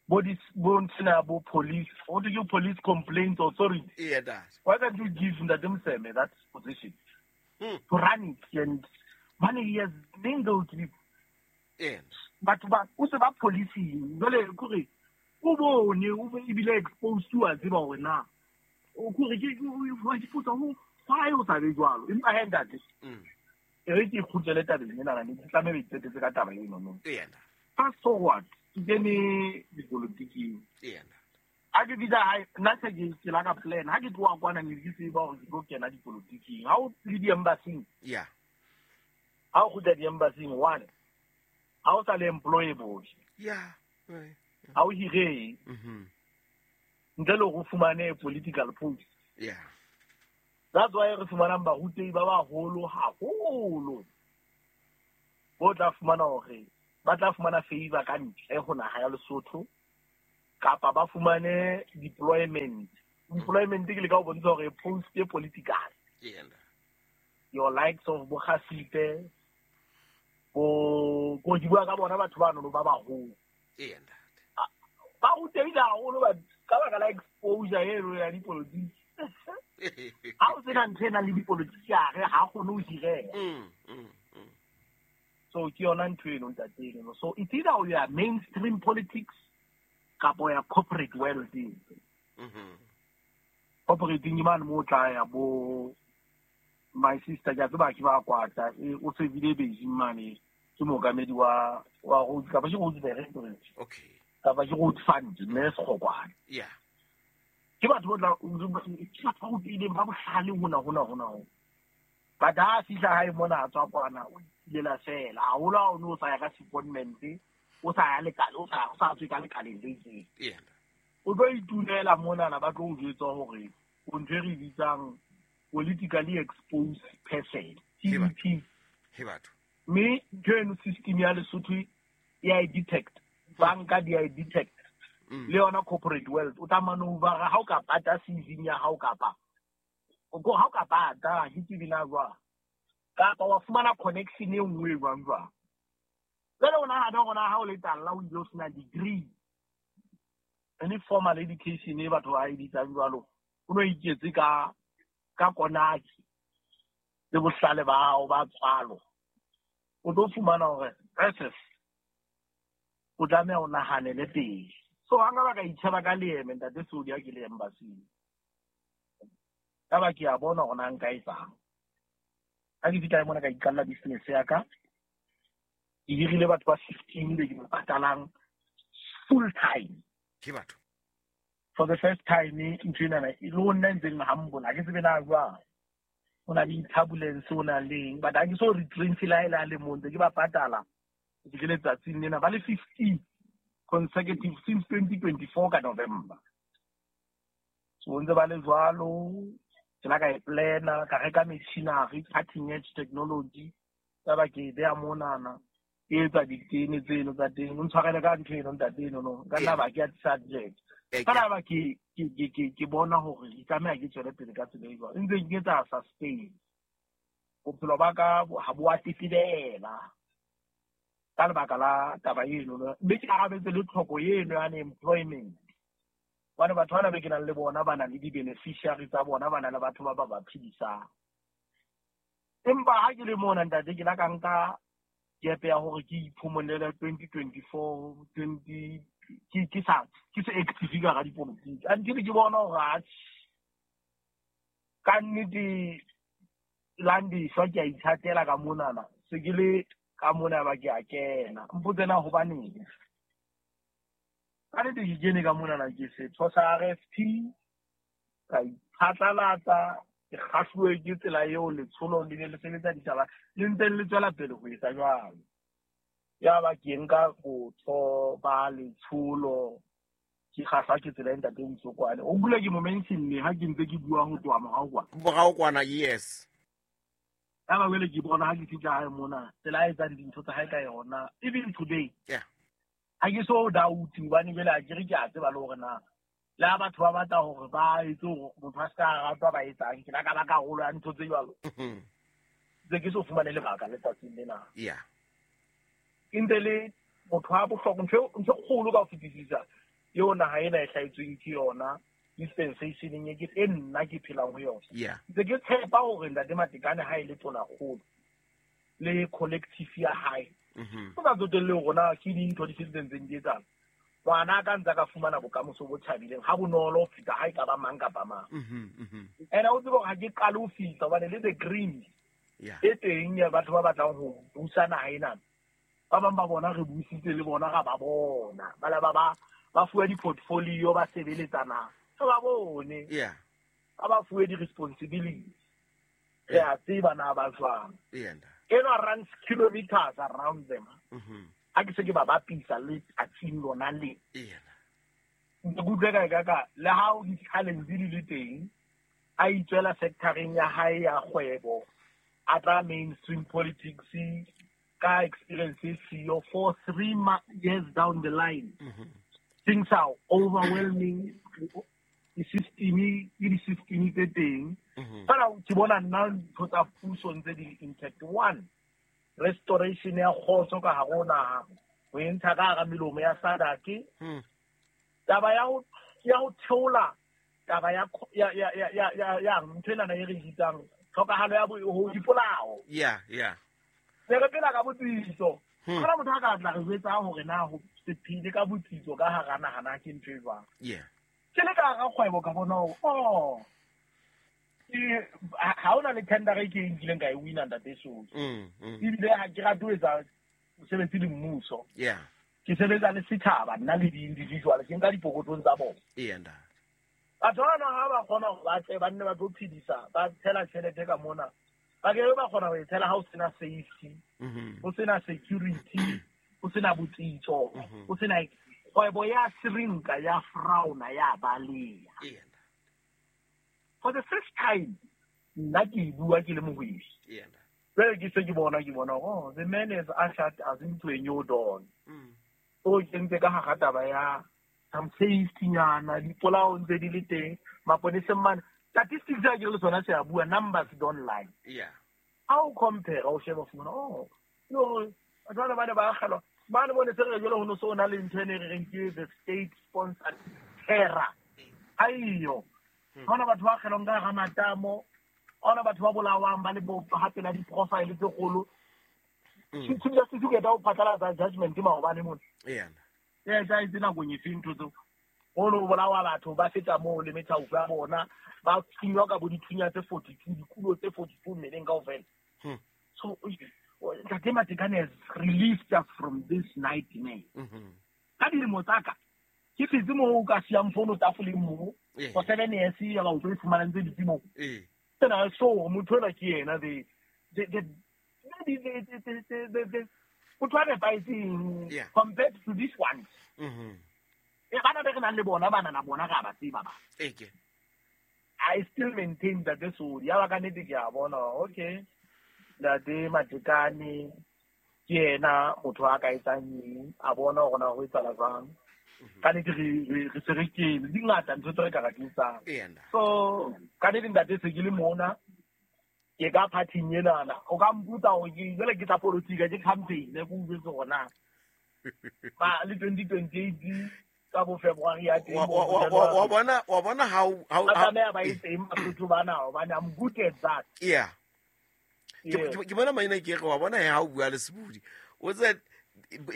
Speaker 2: bo dis bo ntsena bo police, what do you police complaints authority?
Speaker 1: Yeah, that.
Speaker 2: Why can't you give Ntate Moseme that position
Speaker 1: mm.
Speaker 2: to run it? And money he has mingled with.
Speaker 1: Yeah.
Speaker 2: But ba o se ba policing jwale kore o bone o ebile exposed to a tseba hore na o kore ke ke ipotsa ho why o sa be jwalo. Empa he ntate, e re ke kgutlele tabeng ena na ke tlameha ho iqetetse ka taba eno no.
Speaker 1: Yeah.
Speaker 2: Fast forward ke kene dipolotiking.
Speaker 1: Yeah.
Speaker 2: Ha ke fihla hae nna se ke ke la ka plan ha ke tloha kwana ne ke tseba hore ke tlo kena dipolotiking. Ha o le di-embassy-ing,
Speaker 1: yeah,
Speaker 2: ha o kgutla di-embassy-ing, one ha o sa le employable.
Speaker 1: Yeah.
Speaker 2: Ha o hire.
Speaker 1: Mhm.
Speaker 2: Ntle le go fumane political post.
Speaker 1: Yeah.
Speaker 2: That's why re fumanang barutehi ba baholo haholo. Bo tla fumana hore ba tla fumana favor ka ntle ho naha ya Lesotho kapa ba fumane deployment. Deployment ke le ka o bontsha hore post e political.
Speaker 1: Yeah.
Speaker 2: Your likes of bo Khasipe bo go di bua ka bona batho ba no ba baholo.
Speaker 1: Yeah.
Speaker 2: Ba rutehile haholo ba ka baka la exposure eno ya dipolotiki. Ha o sena ntho e nang le dipolotiki hare ha kgone ho hireha.
Speaker 1: Mm, mm, mm.
Speaker 2: So ke yona ntho eno ntate eno. So it's either o ya mainstream politics kapa o ya corporate world.
Speaker 1: Mhm.
Speaker 2: Corporate ke mane mo tla ya bo my sister ke a tseba ke ba kwata e o sebile Beijing mane ke mookamedi wa wa Rhodes kapa ke Rhodes Directorate.
Speaker 1: Okay.
Speaker 2: Kapa ke Rhodes Fund mme Sekgokwane.
Speaker 1: Yeah.
Speaker 2: Ke batho ba tla ke batho ba rutileng ba bohlale hona hona hona hona. But ha fihla hae mona a tswa kwana o itilela fela haholo ha o no sa ya ka secondment o sa ya lekala o sa o sa tswe ka lekaleng le itseng.
Speaker 1: Yeah.
Speaker 2: O tlo itunela monana ba tlo o jwetsa hore o ntho e re bitsang politically exposed person.
Speaker 1: He batho.
Speaker 2: P E P.
Speaker 1: He batho.
Speaker 2: Mme ntho eno system ya Lesotho e a e detect. Banka di a e detect.
Speaker 1: Mm.
Speaker 2: Le yona corporate world o tla manoeuvre ha o ka pata C V ya hao kapa o go ha o ka pata ke tsebe na jwang kapa wa fumana connection e nngwe jwang jwang. Jwale o nahana hore na ha o le talla o ile o sena degree any formal education e batho ba e bitsang jwalo o no iketse ka ka konaki le bohlale ba hao ba tswalo o tlo fumana hore process o tlameha o nahanele pele. So ha nka ba ka itjheba ka leeme ntate Sodi ha ke le embassy. Ka ba ke a bona hore na nka etsang. Ha ke fihla mona ka iqalla business ya ka. Ke hirile batho ba fifteen be ke ba patalang full time.
Speaker 1: Ke batho.
Speaker 2: For the first time ntho ena e le ho nna ntseng humble ha ke tsebe na jwang. Ho na le turbulence ho na leng but ha ke so retrench la ela le mong ntse ke ba patala. Ke letsatsing lena ba le fifteen consecutive since twenty twenty-four ka November. So ntse ba le jwalo ke la ka e plana ka reka machinery cutting edge technology tsa ba ke beya monana ke etsa ditene tseno tsa teng o ntshwarele ka ntho eno ntate eno no ka nna ba ke ya subject ka nna ba ke ke ke ke bona hore ke tlameha ke tswele pele ka tsela e jwalo ntse ke etsa sustain bophelo ba ka ha bo a tetebela ka lebaka la taba eno mme ke arabetse le tlhoko eno ya unemployment. Bana batho bana be ke nang le bona ba na le di-beneficiary tsa bona ba na le batho ba ba ba phedisang. Empa ha ke le mona ntate ke la ka nka kepe ya hore ke iphomolele twenty twenty-four twenty ke ke sa ke se active ka ga dipolotiki until ke bona hore atjhe ka nnete Landiswa ke a ithatela ka monana se ke le ka mona ba ke a kena mpotse na hobaneng ka nnete ke kene ka monana ke setho sa R F P ka iphatlalatsa ke kgahluwe ke tsela eo letsholo le ne le sebetsa ditaba le ntse le tswela pele ho etsa jwalo. Ya ba ke nka botho ba letsholo ke kgahlwa ke tsela e ntate Mosokwane o bula ke mo mention-ne ha ke ntse ke bua ho tloha morao kwana
Speaker 1: morao kwana yes.
Speaker 2: Ya ba wele ke bona ha ke fihla hae mona tsela e etsang dintho tsa hae ka yona even today.
Speaker 1: Yeah.
Speaker 2: Ha ke so doubt hobane jwale ha ke re ke a tseba le hore na le ha batho ba batla hore ba etse hore motho a se ka ratwa ba etsang ke la ka ba karolo ya ntho tse jwalo. Ntse ke so fumane lebaka letsatsing lena.
Speaker 1: Yeah.
Speaker 2: Ke ntse le motho wa bohlokwa ntho ntho kgolo ka ho fetisisa eo naha ena e hlahetsweng ke yona dispensation e ke e nna ke phelang ho yona.
Speaker 1: Yeah.
Speaker 2: Ntse ke tshepa hore ntate Matekane ha e le tonakgolo le collective ya hae.
Speaker 1: Mhm.
Speaker 2: Ho sa tsotelle hore na ke dintho di fe tse ntseng di etsahala. Ngwana ka ntse ka fumana bokamoso bo thabileng ha bonolo ho feta ha e ka ba mang kapa mang.
Speaker 1: Mhm, mhm.
Speaker 2: Ene o tsebe hore ha ke qale ho fihla hobane le the green
Speaker 1: Yeah.
Speaker 2: e teng ya batho ba batlang ho busa naha ena. Ba bang ba bona re buisitse le bona ga ba bona. Ba la ba ba ba fuwe di-portfolio ba sebeletsa naha. Re ba bone.
Speaker 1: Yeah.
Speaker 2: Ba ba fuwe di-responsibility. Re a tseba na ba jwang.
Speaker 1: Yeah.
Speaker 2: Enwa runs kilometers around them.
Speaker 1: Mhm.
Speaker 2: Ha ke se ke ba bapisa le tsatsing lona le.
Speaker 1: Eya.
Speaker 2: Ke utlwe ka ka ka le ha o di-challenge di le teng, a itswela sectoreng ya hae ya kgwebo, a tla mainstream politics ka experience e siyo for three years down the line.
Speaker 1: Mm-hmm.
Speaker 2: Things are overwhelming. Di-system ke di-system tse teng. Fela ke bona nna ntho tsa puso ntse di le intact. One, restoration ya kgotso ka hare ho naha, ho e ntsha ka hara melomo ya SADC. Taba ya ho ya ho theola taba ya ya ya ya ya ya ntho ena e re bitsang tlhokahalo ya ho dipolao.
Speaker 1: Yeah, yeah.
Speaker 2: Ne re phela ka botsitso. Hona motho a ka tla re jwetsa hore na ho se phele ka botsitso ka hara naha na ke ntho e jwang.
Speaker 1: Yeah.
Speaker 2: Ke le ka hara kgwebo ka bona hore oh ha hona le tender e ke nkileng ka e wina ntate Soli. Ebile ha ke rate ho etsa mosebetsi le mmuso.
Speaker 1: Yeah.
Speaker 2: Ke sebetsa le setjhaba nna le di-individual ke nka dipokothong tsa bona.
Speaker 1: Eya ntate.
Speaker 2: Batho bana ha ba kgona hore ba tle ba nne ba tlo phedisa ba tshela tjhelete ka mona. Ba ke ba kgona ho e tshela ha o sena safety, ho sena security, ho sena botsitso, ho sena kgwebo ya shrinka ya frauna ya baleya.
Speaker 1: Eya.
Speaker 2: For the first time nna ke bua ke le mohwebi.
Speaker 1: Eya.
Speaker 2: Jwale ke se ke bona ke bona oh the man has ushered us into a new dawn. O kentse ka hara taba ya some safety nyana dipolao ntse di le teng maponeseng mane statistics ya ke le sona se a bua numbers don't lie.
Speaker 1: Yeah.
Speaker 2: Ha o compare o sheba fumana oh no batho ba ne ba akgelwa ba ne bone se re jwale ho no so na le ntho ene re reng ke the state sponsored terror. Aiyo. Hona batho ba akgelwang ka hara matamo, hona batho ba bolawang ba le bo hape la di-profile tse kgolo. Chief Justice o qeta ho phatlalatsa judgment maobane mona.
Speaker 1: Eya.
Speaker 2: E etsahetse nakong efe ntho tseo? Ho no bolawa batho ba feta moo le methaupa ya bona, ba thunywa ka bo dithunya tse forty-two, dikulo tse forty-two mmeleng kaofela. So Ntate Matekane has released us from this nightmare. Ka dilemo tsa ka, ke phetse moo o ka siyang fono tafoleng moo for seven years ya ba o tlo e fumana ntse dutse moo. Tsena so motho enwa ke yena the the the the the the the the motho a nepahetseng compared to this one. E bana be re nang le bona bana na bona ga ba tseba ba.
Speaker 1: Eke.
Speaker 2: I still maintain that this o ya ba ka nnete ke a bona okay. Ntate Matekane ke yena motho a ka etsang eng a bona hore na ho etsahala jwang. Ka nnete re re se re kene di ngata ntho tse re ka re etsang. So ka nnete ntate se ke le mona ke ka party-ing enana o ka mpotsa hore ke jwale ke tsa politika ke campaign ke utlwetse hore na ba le twenty twenty-eight ka bo February ya teng
Speaker 1: wa bona wa bona how how
Speaker 2: ba tlameha ba etseng Basotho bana hobane I'm good at that.
Speaker 1: Yeah. Ke bona maina ke re wa bona ha o bua le Sebudi o tse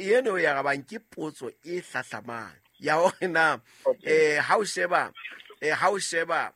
Speaker 1: eno ya rabang ke potso e hlahlamang ya hore na eh ha o sheba eh ha o sheba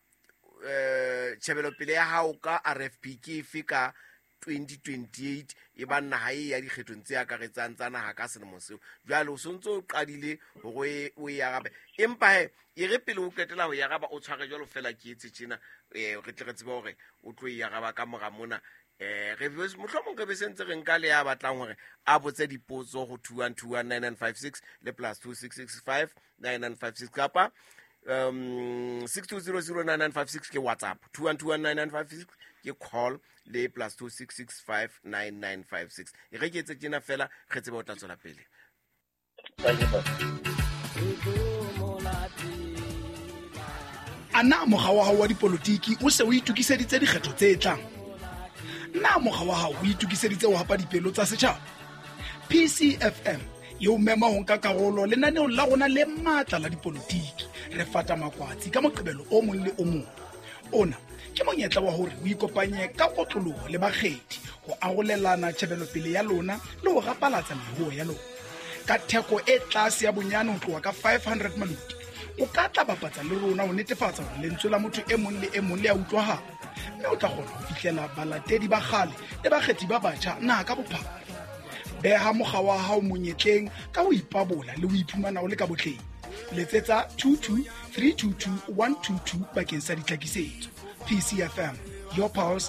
Speaker 1: eh tjhebelopele ya hao ka R F P ke efe ka twenty twenty-eight e ba naha e ya dikgethong tse akaretsang tsa naha ka selemo seo jwale o sontso o qadile hore o e arabe empa he e re pele o qetela ho e araba o tshware jwalo fela ke etse tjena eh re tle re tsebe hore o tlo e araba ka mora mona eh re mohlomong re be sentse re nka le ya batlang hore a botse dipotso ho two one two one nine nine five six le plus two six six five nine nine five six kapa um six two zero zero nine nine five six ke WhatsApp two one two one nine nine five six ke call le plus two six six five nine nine five six e re ke etse tjena fela re tsebe o tla tswela pele.
Speaker 6: Ana mokga wa hao wa dipolotiki o se o itokiseditse dikgetho tse tlang? Na mokga wa hao o itokiseditse ho hapa dipelo tsa setjhaba? P C F M e o mema ho nka karolo lenaneong la rona le matla la dipolotiki. Re fata makwatsi ka moqebelo o mong le o mong. Ona ke monyetla wa hore o ikopanye ka kotloloho le bakgethi ho arolelana tjhebelopele ya lona le ho rapalatsa meruo ya lona. Ka theko e tlase ya bonyane ho tloha ka five hundred maluti, o ka tla bapatsa le rona ho netefatsa hore lentswe la motho e mong le e mong le a utlwahala, mme o tla kgona ho fihlela balatedi ba kgale le bakgethi ba batjha naha ka bophara. Beha mokga wa hao monyetleng ka ho ipabola le ho iphumana o le ka botleng. Letsetsa two two three two two one two two bakeng sa ditlhakisetso. P C F M, your pulse,